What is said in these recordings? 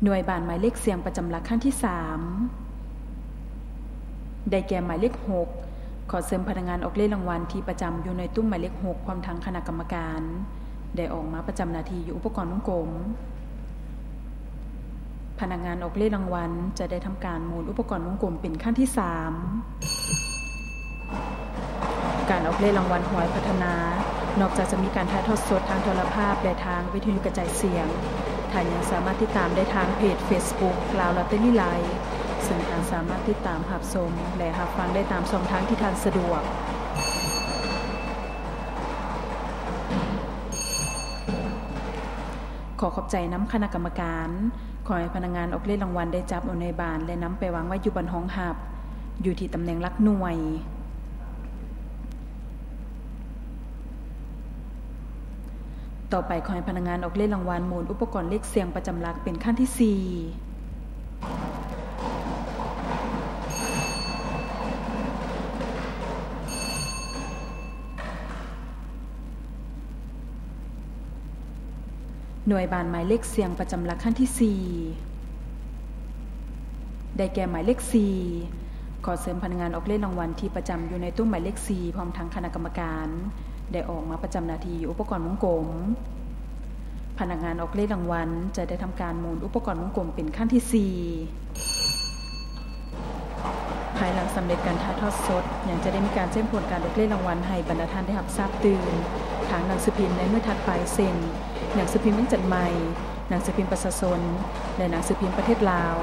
ໜ່ວຍບານໝາຍເລກສ່ຽງປະຈຳຫຼັກ ຄັ້ງທີສາມ ໄດ້ແກ່ໝາຍເລກຫົກ. ຂໍເຊີນພະນັກງານອອກເລກລາງວັນທີ່ປະຈຳຢູ່ໜ່ວຍຕຸ້ມໝາຍເລກຫົກ ພ້ອມທັງຄະນະກຳມະການ ໄດ້ອອກມາປະຈຳໜ້າທີ່ຢູ່ອຸປະກອນວົງກົມ. ພະນັກງານອອກເລກລາງວັນຈະໄດ້ທຳການໝູນອຸປະກອນວົງກົມເປັນຄັ້ງທີສາມ. ການອອກເລກລາງວັນຫວຍພັດທະນາ ນອກຈາກຈະມີການຖ່າຍທອດສົດທາງໂທລະພາບ ແລະ ທາງວິທະຍຸກະຈາຍສຽງ, ທ່ານຍັງສາມາດຕິດຕາມໄດ້ທາງເພຈເຟສບຸກ ລາວລອດເຕີຣີໄລ, ເຊິ່ງທ່ານສາມາດຕິດຕາມຮັບຊົມ ແລະ ຮັບຟັງໄດ້ຕາມຊ່ອງທາງທີ່ທ່ານສະດວກ. ຂໍຂອບໃຈນຳຄະນະກຳມະການ. ຂໍໃຫ້ພະນັກງານອອກເລກລາງວັນໄດ້ຈັບເອົາໜ່ວຍບານ ແລະ ນຳໄປວາງໄວ້ຢູ່ບ່ອນຮອງຮັບ ຢູ່ທີ່ຕຳແໜ່ງຫຼັກໜ່ວຍ. ຕໍ່ໄປ ຂໍໃຫ້ພະນັກງານອອກເລກລາງວັນໝູນອຸປະກອນເລກສ່ຽງປະຈຳຫຼັກເປັນຄັ້ງທີສີ່. ໜ່ວຍບານໝາຍເລກສ່ຽງປະຈຳຫຼັກຄັ້ງທີສີ່ ໄດ້ແກ່ໝາຍເລກສີ່. ຂໍເຊີນພະນັກງານອອກເລກລາງວັນທີ່ປະຈຳຢູ່ໃນຕຸ້ມໝາຍເລກສີ່ ພ້ອມທັງຄະນະກຳມະການ ໄດ້ອອກມາປະຈຳໜ້າທີ່ຢູ່ອຸປະກອນວົງກົມ. ພະນັກງານອອກເລກລາງວັນຈະໄດ້ທຳການໝູນອຸປະກອນວົງກົມເປັນຄັ້ງທີສີ່. ພາຍຫຼັງສຳເລັດການຖ່າຍທອດສົດ, ຍັງຈະໄດ້ມີການແຈ້ງຜົນການອອກເລກລາງວັນໃຫ້ບັນດາທ່ານໄດ້ຮັບຊາບຕື່ມ ທາງໜັງສືພິມໃນມື້ຖັດໄປ ເຊັ່ນ ໜັງສືພິມວຽງຈັນໃໝ່, ໜັງສືພິມປະຊາຊົນ ແລະ ໜັງສືພິມປະເທດລາວ.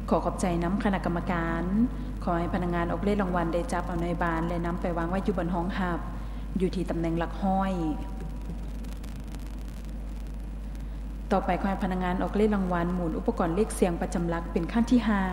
ຂໍຂອບໃຈນຳຄະນະກຳມະການ. ຂໍໃຫ້ພະນັກງານອອກເລກລາງວັນໄດ້ຈັບເອົາໜ່ວຍບານ ແລະ ນຳໄປວາງໄວ້ຢູ່ບ່ອນຮອງຮັບ ຢູ່ທີ່ຕຳແໜ່ງຫຼັກຮ້ອຍ. ຕໍ່ໄປ ຂໍໃຫ້ພະນັກງານອອກເລກລາງວັນໝູນອຸປະກອນເລກສ່ຽງປະຈຳຫຼັກເປັນຄັ້ງທີຫ້າ.